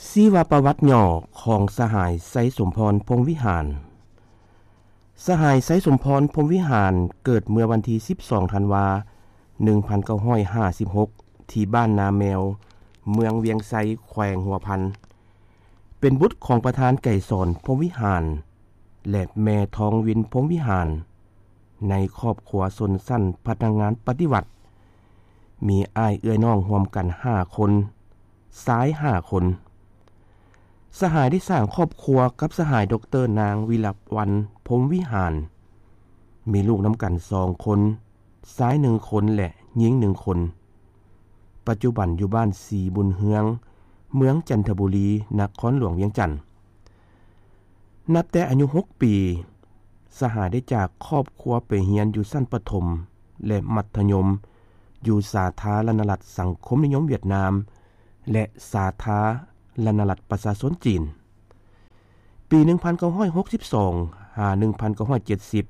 ຊີວະປະຫວັດຫຍໍ້ຂອງສະຫາຍ ໄຊສົມພອນ ພົມວິຫານ. ສະຫາຍ ໄຊສົມພອນ ພົມວິຫານ ເກີດເມື່ອວັນທີສິບສອງ ທັນວາ ໜຶ່ງພັນເກົ້າຮ້ອຍຫ້າສິບຫົກ ທີ່ບ້ານນາແມວ ເມືອງວຽງໄຊ ແຂວງຫົວພັນ, ເປັນບຸດຂອງປະທານໄກສອນ ພົມວິຫານ ແລະ ແມ່ທອງວິນ ພົມວິຫານ. ໃນຄອບຄົວຊົນຊັ້ນພະນັກງານປະຕິວັດ, ມີອ້າຍເອື້ອຍນ້ອງຮ່ວມກັນຫ້າຄົນ, ຊາຍຫ້າຄົນ. ສະຫາຍໄດ້ສ້າງຄອບຄົວກັບສະຫາຍ ດອກເຕີ ນາງ ວິລະວັນ ພົມວິຫານ, ມີລູກນຳກັນສອງຄົນ, ຊາຍໜຶ່ງຄົນ ແລະ ຍິງໜຶ່ງຄົນ. ປັດຈຸບັນຢູ່ບ້ານສີບຸນເຮືອງ, ເມືອງຈັນທະບູລີ, ນະຄອນຫຼວງວຽງຈັນ. ນັບແຕ່ອາຍຸຫົກປີ, ສະຫາຍໄດ້ຈາກຄອບຄົວໄປຮຽນຢູ່ຊັ້ນປະຖົມ ແລະ ມັດທະຍົມ ຢູ່ສາທາລະນະລັດສັງຄົມນິຍົມຫວຽດນາມ ແລະ ສາທາລະນະລັດປະຊາຊົນຈີນ. ປີໜຶ່ງພັນເກົ້າຮ້ອຍຫົກສິບສອງ ຫາ ໜຶ່ງພັນເກົ້າຮ້ອຍເຈັດສິບ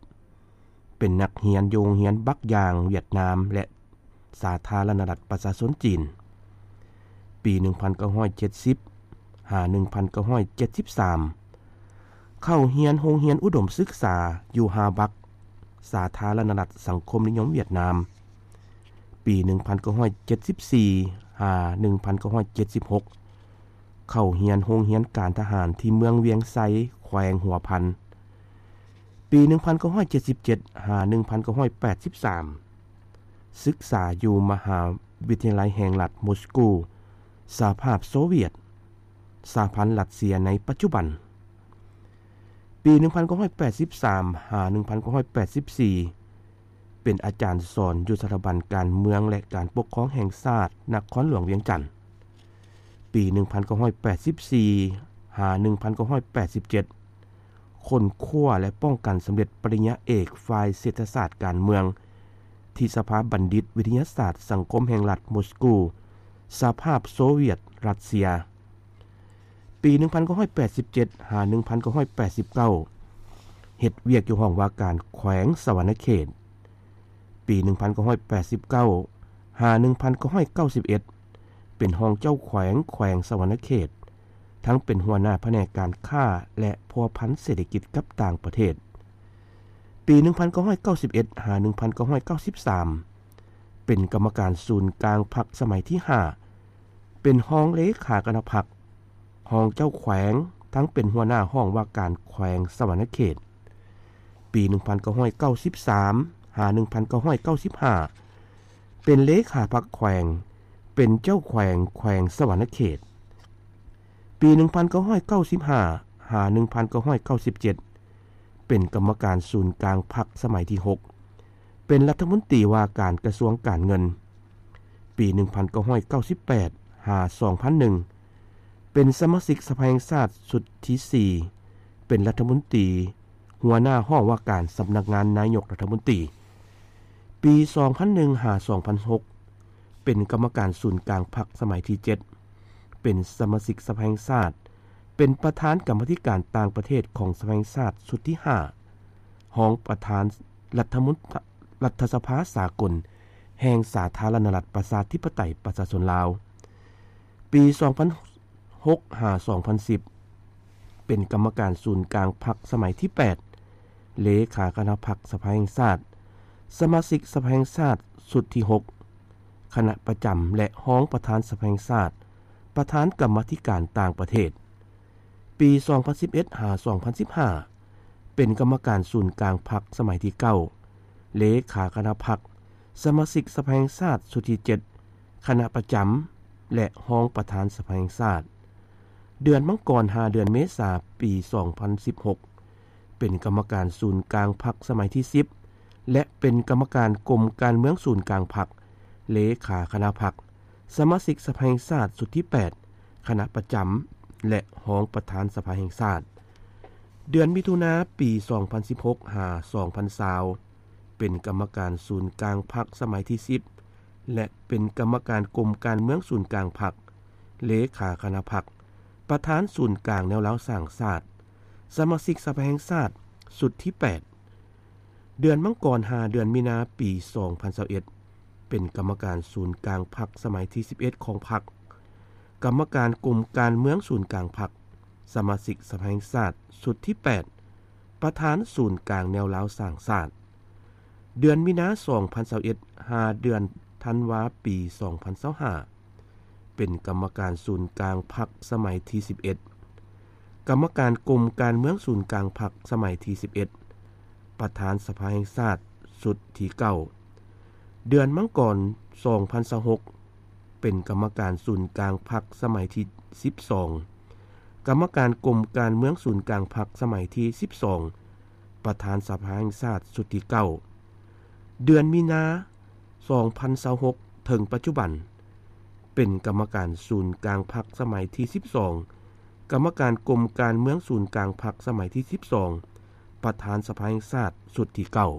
ເປັນນັກຮຽນຢູ່ໂຮງຮຽນບັກຢາງຫວຽດນາມ ແລະ ສາທາລະນະລັດປະຊາຊົນຈີນ. ປີໜຶ່ງພັນເກົ້າຮ້ອຍເຈັດສິບ ຫາ ໜຶ່ງພັນເກົ້າຮ້ອຍເຈັດສິບສາມ ເຂົ້າຮຽນໂຮງຮຽນອຸດົມສຶກສາຢູ່ຮາບັກ, ສາທາລະນະລັດສັງຄົມນິຍົມຫວຽດນາມ. ປີໜຶ່ງພັນເກົ້າຮ້ອຍເຈັດສິບສີ່ ຫາ ໜຶ່ງພັນເກົ້າຮ້ອຍເຈັດສິບຫົກ ເຂົ້າຮຽນໂຮງຮຽນການທະຫານທີ່ເມືອງວຽງໄຊ ແຂວງຫົວພັນ. ປີໜຶ່ງພັນເກົ້າຮ້ອຍເຈັດສິບເຈັດ ຫາ ໜຶ່ງພັນເກົ້າຮ້ອຍແປດສິບສາມ ສຶກສາຢູ່ມະຫາວິທະຍາໄລແຫ່ງລັດມົສກູ, ສະຫະພາບໂຊວຽດ, ສະຫະພັນລັດເຊຍໃນປັດຈຸບັນ. ປີໜຶ່ງພັນເກົ້າຮ້ອຍແປດສິບສາມ ຫາ ໜຶ່ງພັນເກົ້າຮ້ອຍແປດສິບສີ່ ເປັນອາຈານສອນຢູ່ສະຖາບັນການເມືອງ ແລະ ການປົກຄອງແຫ່ງຊາດ ນະຄອນຫຼວງວຽງຈັນ. ປີໜຶ່ງພັນເກົ້າຮ້ອຍແປດສິບສີ່ ຫາ ໜຶ່ງພັນເກົ້າຮ້ອຍແປດສິບເຈັດ ຄົ້ນຄວ້າ ແລະ ປ້ອງກັນສຳເລັດປະລິນຍາເອກຝ່າຍເສດຖະສາດການເມືອງ ທີ່ສະພາບັນດິດວິທະຍາສາດສັງຄົມແຫ່ງລັດມົສກູ, ສະຫະພາບໂຊວຽດ, ຣັດເຊຍ. ປີໜຶ່ງພັນເກົ້າຮ້ອຍແປດສິບເຈັດ ຫາ ໜຶ່ງພັນເກົ້າຮ້ອຍແປດສິບເກົ້າ ເຮັດວຽກຢູ່ຫ້ອງວ່າການແຂວງສະຫວັນນະເຂດ. ປີໜຶ່ງພັນເກົ້າຮ້ອຍແປດສິບເກົ້າ ຫາ ໜຶ່ງພັນເກົ້າຮ້ອຍເກົ້າສິບເອັດ ເປັນຮອງເຈົ້າແຂວງແຂວງສະຫວັນນະເຂດ, ທັງເປັນຫົວໜ້າພະແນກການຄ້າ ແລະ ພົວພັນເສດຖະກິດກັບຕ່າງປະເທດ. ປີໜຶ່ງພັນເກົ້າຮ້ອຍເກົ້າສິບເອັດ ຫາ ໜຶ່ງພັນເກົ້າຮ້ອຍເກົ້າສິບສາມ ເປັນກຳມະການສູນກາງພັກສະໄໝທີຫ້າ, ເປັນຮອງເລຂາຄະນະພັກ, ຮອງເຈົ້າແຂວງ, ທັງເປັນຫົວໜ້າຫ້ອງວ່າການແຂວງສະຫວັນນະເຂດ. ປີໜຶ່ງພັນເກົ້າຮ້ອຍເກົ້າສິບສາມ ຫາ ໜຶ່ງພັນເກົ້າຮ້ອຍເກົ້າສິບຫ້າ ເປັນເລຂາພັກແຂວງ, ເປັນເຈົ້າແຂວງແຂວງສະຫວັນນະເຂດ. ປີໜຶ່ງພັນເກົ້າຮ້ອຍເກົ້າສິບຫ້າ ຫາ ໜຶ່ງພັນເກົ້າຮ້ອຍເກົ້າສິບເຈັດ ເປັນກຳມະການສູນກາງພັກສະໄໝທີຫົກ, ເປັນລັດຖະມົນຕີວ່າການກະຊວງການເງິນ. ປີໜຶ່ງພັນເກົ້າຮ້ອຍເກົ້າສິບແປດ ຫາ ສອງພັນໜຶ່ງ ເປັນສະມາຊິກສະພາແຫ່ງຊາດຊຸດທີສີ່, ເປັນລັດຖະມົນຕີ ຫົວໜ້າຫ້ອງວ່າການສຳນັກງານນາຍົກລັດຖະມົນຕີ. ປີສອງພັນໜຶ່ງ ຫາ ສອງພັນຫົກ ເປັນກຳມະການສູນກາງພັກສະໄໝທີເຈັດ, ເປັນສະມາຊິກສະພາແຫ່ງຊາດ, ເປັນປະທານກຳມາທິການຕ່າງປະເທດຂອງສະພາແຫ່ງຊາດຊຸດທີຫ້າ, ຮອງປະທານລັດຖະມົນ ລັດຖະສະພາສາກົນແຫ່ງສາທາລະນະລັດປະຊາທິປະໄຕປະຊາຊົນລາວ. ປີສອງພັນຫົກ ຫາ ສອງພັນສິບ ເປັນກຳມະການສູນກາງພັກສະໄໝທີແປດ, ເລຂາຄະນະພັກສະພາແຫ່ງຊາດ, ສະມາຊິກສະພາແຫ່ງຊາດຊຸດທີຫົກ, ຄະນະປະຈຳ ແລະ ຮອງປະທານສະພາແຫ່ງຊາດ, ປະທານກຳມາທິການຕ່າງປະເທດ. ປີສອງພັນສິບເອັດ ຫາ ສອງພັນສິບຫ້າ ເປັນກຳມະການສູນກາງພັກສະໄໝທີເກົ້າ, ເລຂາຄະນະພັກ, ສະມາຊິກສະພາແຫ່ງຊາດຊຸດທີເຈັດ, ຄະນະປະຈຳ ແລະ ຮອງປະທານສະພາແຫ່ງຊາດ. ເດືອນມັງກອນ ຫາ ເດືອນເມສາ ປີສອງພັນສິບຫົກ ເປັນກຳມະການສູນກາງພັກສະໄໝທີສິບ ແລະ ເປັນກຳມະການກົມການເມືອງສູນກາງພັກ, ເລຂາຄະນະພັກ, ສະມາຊິກສະພາແຫ່ງຊາດຊຸດທີແປດ, ຄະນະປະຈຳ ແລະ ຮອງປະທານສະພາແຫ່ງຊາດ. ເດືອນມິຖຸນາ ປີສອງພັນສິບຫົກ ຫາ ສອງພັນຊາວ ເປັນກຳມະການສູນກາງພັກສະໄໝທີສິບ ແລະ ເປັນກຳມະການກົມການເມືອງສູນກາງພັກ, ເລຂາຄະນະພັກ, ປະທານສູນກາງແນວລາວສ້າງຊາດ, ສະມາຊິກສະພາແຫ່ງຊາດຊຸດທີແປດ. ເດືອນມັງກອນ ຫາ ເດືອນມີນາ ປີສອງພັນຊາວເອັດ ເປັນກຳມະການສູນກາງພັກສະໄໝທີສິບເອັດຂອງພັກ, ກຳມະການກົມການເມືອງສູນກາງພັກ, ສະມາຊິກສະພາແຫ່ງຊາດຊຸດທີແປດ, ປະທານສູນກາງແນວລາວສ້າງຊາດ. ເດືອນມີນາ ສອງພັນຊາວເອັດ ຫາເດືອນທັນວາ ປີສອງພັນຊາວຫ້າ ເປັນກຳມະການສູນກາງພັກສະໄໝທີສິບເອັດ, ກຳມະການກົມການເມືອງສູນກາງພັກສະໄໝທີສິບເອັດ, ປະທານສະພາແຫ່ງຊາດຊຸດທີເກົ້າ. ເດືອນມັງກອນ ສອງພັນຊາວຫົກ ເປັນກຳມະການສູນກາງພັກສະໄໝທີສິບສອງ, ກຳມະການກົມການເມືອງສູນກາງພັກສະໄໝທີສິບສອງ, ປະທານສະພາແຫ່ງຊາດຊຸດທີເກົ້າ. ເດືອນມີນາ ສອງພັນຊາວຫົກ ເຖິງປັດຈຸບັນ ເປັນກຳມະການສູນກາງພັກສະໄໝທີສິບສອງ, ກຳມະການກົມການເມືອງສູນກາງພັກສະໄໝທີສິບສອງ, ປະທານສະພາແຫ່ງຊາດຊຸດທີເກົ້າ.